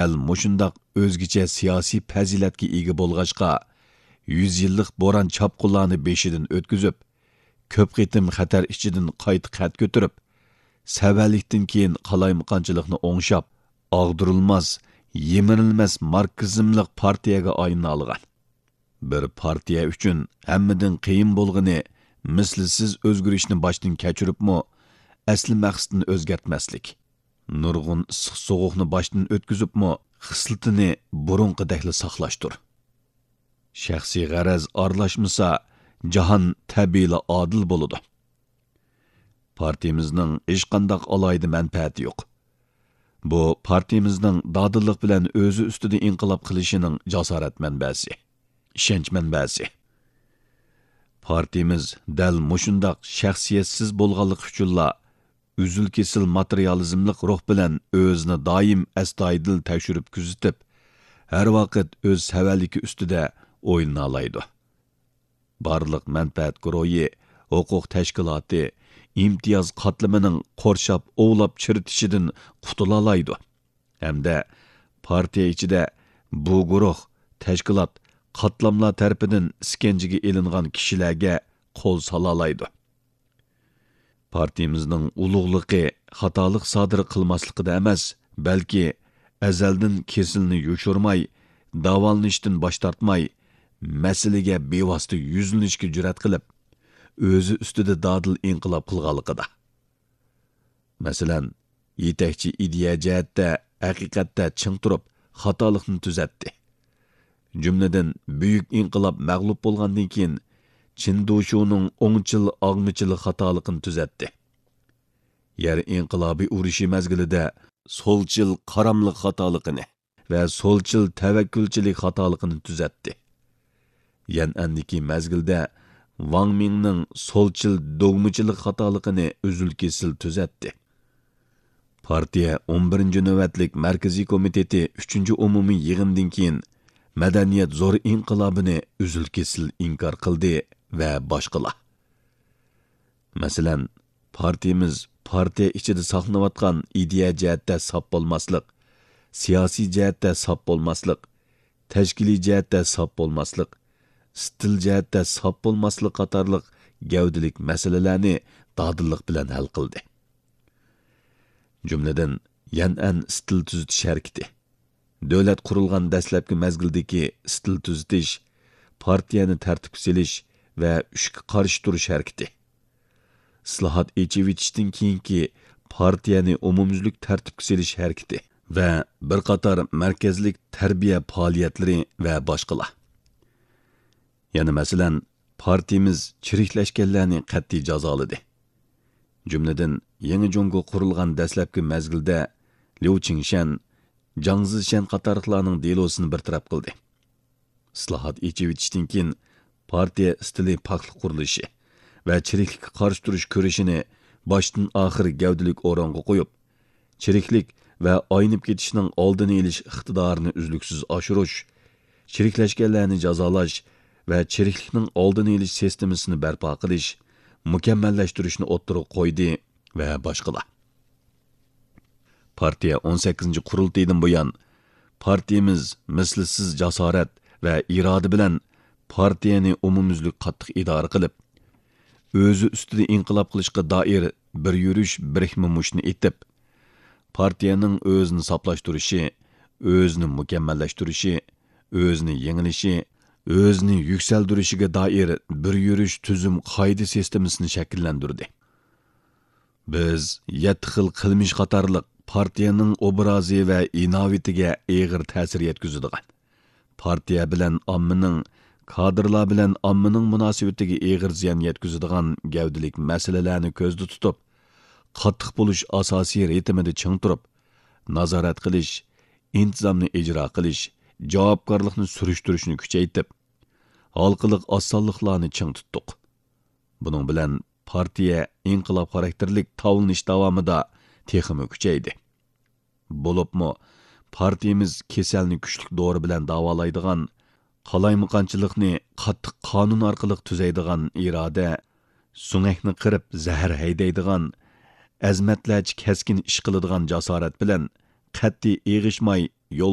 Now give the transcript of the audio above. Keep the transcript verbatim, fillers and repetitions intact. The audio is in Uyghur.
ئەل مۇشۇنداق ئۆزگىچە سىياسىي پەزىلەتكە ئىگە بولغاچقا، يۈز يىللىق بوران-چاپقۇنلارنى بېشىدىن ئۆتكۈزۈپ، كۆپ قېتىم خەتەر ئىچىدىن قايتا قەد كۆتۈرۈپ، سەۋەنلىكتىن كېيىن قالايمىقانچىلىقنى ئوڭشاپ، ئاغدۇرۇلماس، يىمىرىلمەس ماركسىزملىق پارتىيەگە ئايلىنالىغان. بىر پارتىيە ئۈچۈن ھەممىدىن قىيىن بولغىنى مىسلىسىز ئۆزگىرىشنى باشتىن كەچۈرۈپمۇ، ئەسلى مەقسىتىنى ئۆزگەرتمەسلىك. نۇرغۇن ئىسسىق سوغۇقنى باشتىن ئۆتكۈزۈپمۇ، خىسلىتىنى بۇرۇنقىدەكلا ساقلاشتۇر. شەخسىي غەرەز ئارىلاشمىسا، جاھان تەبىئىيلا ئادىل بولىدۇ. پارتىيىمىزنىڭ ھېچقانداق ئالاھىدە مەنپەئەتى يوق. بۇ پارتىيىمىزنىڭ دادىللىق بىلەن ئۆزى ئۈستىدە ئىنقىلاب قىلىشىنىڭ جاسارەت مەنبەسى، ئىشەنچ مەنبەسى. پارتىيىمىز دەل مۇشۇنداق شەخسىيەتسىز بولغانلىقى ئۈچۈنلا ئۈزۈل-كېسىل ماتېرىيالىزملىق روھ بىلەن ئۆزىنى دائىم ئەستايىدىل تەكشۈرۈپ كۆزىتىپ، ھەر ۋاقىت ئۆز سەۋەنلىكى ئۈستىدە ئويلىنالايدۇ. بارلىق مەنپەئەت گۇرۇھى، ھوقۇق تەشكىلاتى، ئىمتىياز قاتلىمىنىڭ قورشاپ ئوۋلاپ چىرىتىشىدىن قۇتۇلالايدۇ. ھەمدە پارتىيە ئىچىدە بۇ گۇرۇھ، تەشكىلات، قاتلاملار تەرىپىدىن ئىسكەنجىگە ئېلىنغان كىشىلەرگە قول سالالايدۇ. پارتىيىمىزنىڭ ئۇلۇغلۇقى خاتالىق سادىر قىلماسلىقىدا ئەمەس، بەلكى ئەزەلدىن كېسىلنى يوشۇرماي، داۋالىنىشتىن باش تارتماي، مەسىلىگە بىۋاسىتە يۈزلىنىشكە جۈرئەت قىلىپ، ئۆزى ئۈستىدە دادىل ئىنقىلاب قىلغانلىقىدا. مەسىلەن، يېتەكچى ئىدىيە جەھەتتە ھەقىقەتتە چىڭ تۇرۇپ، خاتالىقنى تۈزەتتى. جۈملىدىن، بۈيۈك ئىنقىلاب مەغلۇپ بولغاندىن كېيىن، چىن دۇشۇنىڭ ئوڭچىل ئاغمىچىل خاتالىقىنى تۈزەتتى. يەر ئىنقىلابى ئۇرۇشى مەزگىلىدە سولچىل قاراملىق خاتالىقىنى ۋە سولچىل تەۋەككۈلچىلىك خاتالىقىنى تۈزەتتى. يەنئەندىكى مەزگىلدە ۋاڭ مىڭنىڭ سولچىل دوگمىچىلىق خاتالىقىنى ئۈزۈل-كېسىل تۈزەتتى. پارتىيە ئون بىرىنچى نۆۋەتلىك مەركىزىي كومىتېتى ئۈچىنچى ئومۇمىي يىغىندىن كېيىن مەدەنىيەت زور ئىنقىلابىنى ئۈزۈل-كېسىل ئىنكار قىلدى ۋە باشقىلار. مەسىلەن، پارتىيىمىز پارتىيە ئىچىدە ساقلىنىۋاتقان ئىدىيە جەھەتتە ساپ بولماسلىق، سىياسىي جەھەتتە ساپ بولماسلىق، تەشكىلىي جەھەتتە ساپ بولماسلىق، ئىستىل جەھەتتە ساپ بولماسلىق قاتارلىق گەۋدىلىك مەسىلىلەرنى دادىللىق بىلەن ھەل قىلدى. جۈملىدىن، يەنئەن ئىستىل تۈزىتىش ھەرىكىتى، دۆلەت قۇرۇلغان دەسلەپكى مەزگىلدىكى ئىستىل تۈزىتىش، پارتىيەنى تەرتىپكە سېلىش ۋە ئۈچكە قارشى تۇرۇش ھەرىكىتى، ئىسلاھات، ئېچىۋېتىشتىن كېيىنكى پارتىيەنى ئومۇميۈزلۈك تەرتىپكە سېلىش ھەرىكىتى ۋە بىر قاتار مەركەزلىك تەربىيە پائالىيەتلىرى ۋە باشقىلار. يەنە مەسىلەن، پارتىيىمىز چىرىكلەشكەنلەرنى قەتئىي جازالىدى. جۈملىدىن، يېڭى جۇڭگو قۇرۇلغان دەسلەپكى مەزگىلدە ليۇ چىڭشەن، جاڭ زىشەن قاتارلىقلارنىڭ دېلوسىنى بىر تەرەپ قىلدى. ئىسلاھات، ئېچىۋېتىشتىن كېيىن پارتىيە ئىستىلى پاكلىق قۇرۇلۇشى ۋە چىرىكلىككە قارشى تۇرۇش كۈرىشىنى باشتىن ئاخىر گەۋدىلىك ئورۇنغا قويۇپ، چىرىكلىك ۋە ئاينىپ كېتىشنىڭ ئالدىنى ئېلىش ئىقتىدارىنى ئۈزلۈكسىز ئاشۇرۇش، چىرىكلەشكەنلەرنى جازالاش ۋە چىرىكلىكنىڭ ئالدىنى ئېلىش سىستېمىسىنى بەرپا قىلىش، مۇكەممەللەشتۈرۈشنى ئوتتۇرىغا قويدى ۋە باشقىلار. پارتىيە ئون سەككىزىنچى قۇرۇلتىيىدىن بۇيان، پارتىيىمىز مىسلىسىز جاسارەت ۋە ئىرادە بىلەن پارتىيەنى ئومۇميۈزلۈك قاتتىق ئىدارە قىلىپ، ئۆزى ئۈستىدە ئىنقىلاب قىلىشقا دائىر بىر يۈرۈش بىرىكمە مۇشتنى ئېتىپ، پارتىيەنىڭ ئۆزىنى ساپلاشتۇرۇشى، ئۆزىنى مۇكەممەللەشتۈرۈشى، ئۆزىنى يېڭىلىشى، ئۆزىنى يۈكسەلدۈرۈشىگە دائىر بىر يۈرۈش تۈزۈم قائىدە سىستېمىسىنى شەكىللەندۈردى. بىز يەتتە خىل قىلمىش قاتارلىق پارتىيەنىڭ ئوبرازى ۋە ئىناۋىتىگە ئېغىر تەسىر يەتكۈزىدىغان، پارتىيە بىلەن ئاممىنىڭ، كادىرلار بىلەن ئاممىنىڭ مۇناسىۋىتىگە ئېغىر زىيان يەتكۈزىدىغان گەۋدىلىك مەسىلىلەرنى كۆزدە تۇتۇپ، قاتتىق بولۇش ئاساسىي رىتىمىدا چىڭ تۇرۇپ، نازارەت قىلىش، ئىنتىزامنى ئىجرا قىلىش، جاۋابكارلىقنى سۈرۈشتۈرۈشنى كۈچەيتىپ، ھالقىلىق ئاز سانلىقلارنى چىڭ تۇتتۇق. بۇنىڭ بىلەن پارتىيە ئىنقىلاب خاراكتېرلىك تاۋلىنىش داۋامىدا تېخىمۇ كۈچەيدى. بولۇپمۇ، پارتىيىمىز كېسەلنى كۈچلۈك دورا بىلەن داۋالايدىغان، قالايمىقانچىلىقنى قاتتىق قانۇن ئارقىلىق تۈزەيدىغان ئىرادە، سۆڭەكنى قىرىپ زەھەر ھەيدەيدىغان، ئەزىمەتلەرچە كەسكىن ئىش قىلىدىغان جاسارەت بىلەن قەتئىي ئېغىشماي يول